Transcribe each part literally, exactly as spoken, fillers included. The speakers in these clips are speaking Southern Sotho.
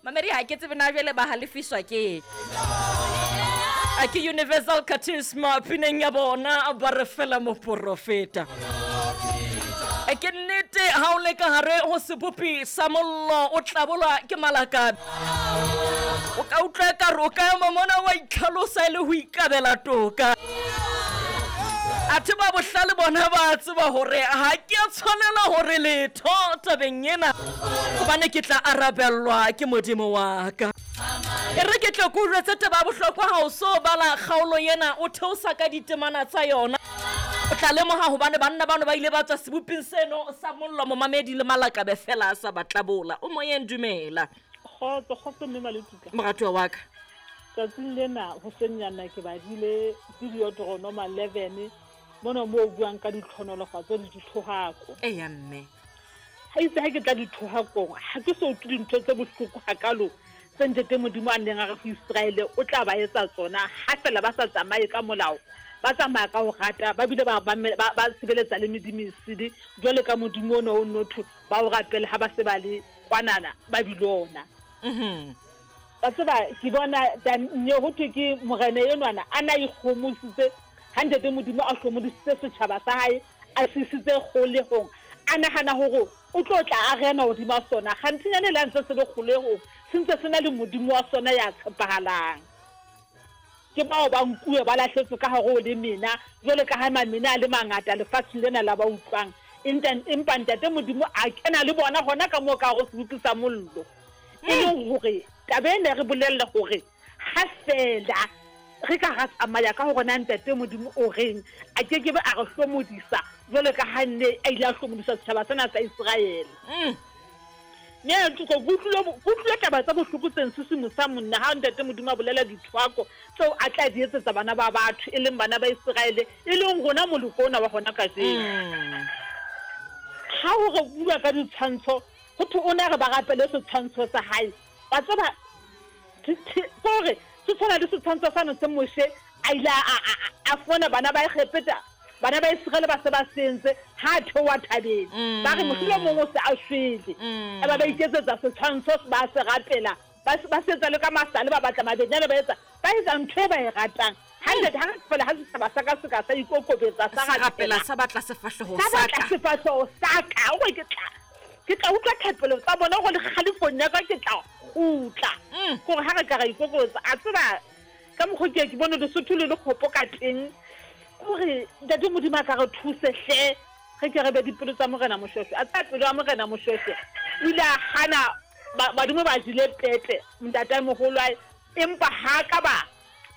Mamedi, ha ke tsebe na jwale ba halefiswa ke a ke Universal Charisma pineng ya bona ba re fela moporofeta. E ke nnete, ha o le ka hare ho sebopi sa mollo o tlabolwa ke malakabe, o ka utlwa ekare o ka ema mona wa itlhalosa e le ho ikabela toka. Athe ba bohlale bona ba tseba hore ha ke a tshwanela hore letho tabeng ena, hobane ke tla arabellwa ke Modimo wa ka. E re ke tle ke o jwetse taba ya bohlokwa, ha o so bala kgaolo ena o theosa ka ditemana tsa yona, o tla lemoha hobane banna bano ba ile ba tswa seboping seno sa mollo, momamedi, le malakabe fela a sa ba tlabola. O moyeng, dumela. Kgotso, kgotso mme Maletuka. Moratuwa wa ka. Tsatsing lena hosenyana ke badile Deuteronomy eleven mona moo o buang ka ditlhonolofatso le dithohako. Eya mme. Ha itse ha ke tla dithohakong, ha ke so utlwe dintho tse bohloko hakalo tse Ntate Modimo a neng a re ho Israele o tla ba etsa tsona ha fela ba sa tsamaye ka molao, ba tsamaya ka ho rata, ba bile ba ba ba sebeletsa le medimo e sele jwale ka modimo ona o notho ba o rapele ha ba se ba le kwanana Babilona. Mhm. Wa tseba ke bona nye ho thwe ke morena enwana a na ikgomositse ha Ntate Modimo a hlomodisitse setjhaba sa hae, a se isitse kgolehong, a nahana hore o tlo tla a rena hodima sona. Kganthenyana le ha ntse se le kgolehong, se ntse se na le Modimo wa sona ya tshepahalang. Ke bao ba nkuwe ba lahletswe ka hare ho le mena, jwale ka ha mamena a le mangata lefatsheng lena la ba utlwang. Empa Ntate Modimo a kena le bona hona ka moo ka hare ho sebopi sa mollo. E leng hore taba ena e re bolella hore ha fela re ka ra tsamaya ka hore na Ntate Modimo o reng, a kekebe a re hlomodisa jwalo ka ha nne a ile a hlomodisa setjhaba sena sa Israele. Mm. Mme ke utlwile taba tsa bohloko tse nsisimosang monna ha Ntate Modimo a bolela dithwako tseo a tla di etsetsa bana ba batho, e leng bana ba Israele, e leng rona moloko ona wa hona kajeno. Mm. Ha ho re bua ka ditshwantsho, ho thwe o ne re ba rapele setshwantsho sa hae. Wa tseba, kore se tshwana le setshwantsho sane se Moshe a ile a a fumana bana ba Egepeta, bana ba Israele ba se ba sentse ha theoha thabeng. Ba re mohlomong o se a shwele. Eba ba iketsetsa setshwantsho ba se rapela, ba ba se etsa le ka masale, ba batla mabenyane, ba etsa ba etsa ntho e ba e ratang. Hantle ha re fela ha setjhaba sa ka se ka sa ikokobetsa sa Sa rapela sa batla sefahleho sa sa batla ka. sefahleho sa ka, hore ke tla ke tla utlwa thapelo tsa bona hore le kgalefong ya ka ke tla kgutla. Mm. Hore ha re ka ra ikokobetsa, a tseba ka mokgo ke ke bone Lesotho le le kgopo ka teng, hore Ntate Modimo a ka re thuse hle, re ke re be dipelo tsa Morena Moshweshwe. A tseba pelo ya Morena Moshweshwe o ile a hana badimo ba jele pepe ntataemoholo ae, empa ha ka ba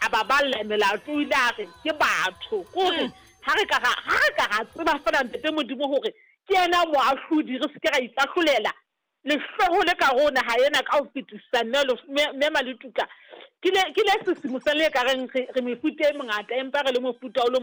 a ba balla melato, o ile a re ke batho. Kore ha re ka ra ha re ka ra tseba fela Ntate Modimo hore ke yena moahlodi, re se ke ra ikahlolela lehloho le ka ho naha ena ka ho fetisisa. Mme mme Maletuka, ke le ke le sesimosang le ka reng re re mefuta e mengata, empa re le mofuta o le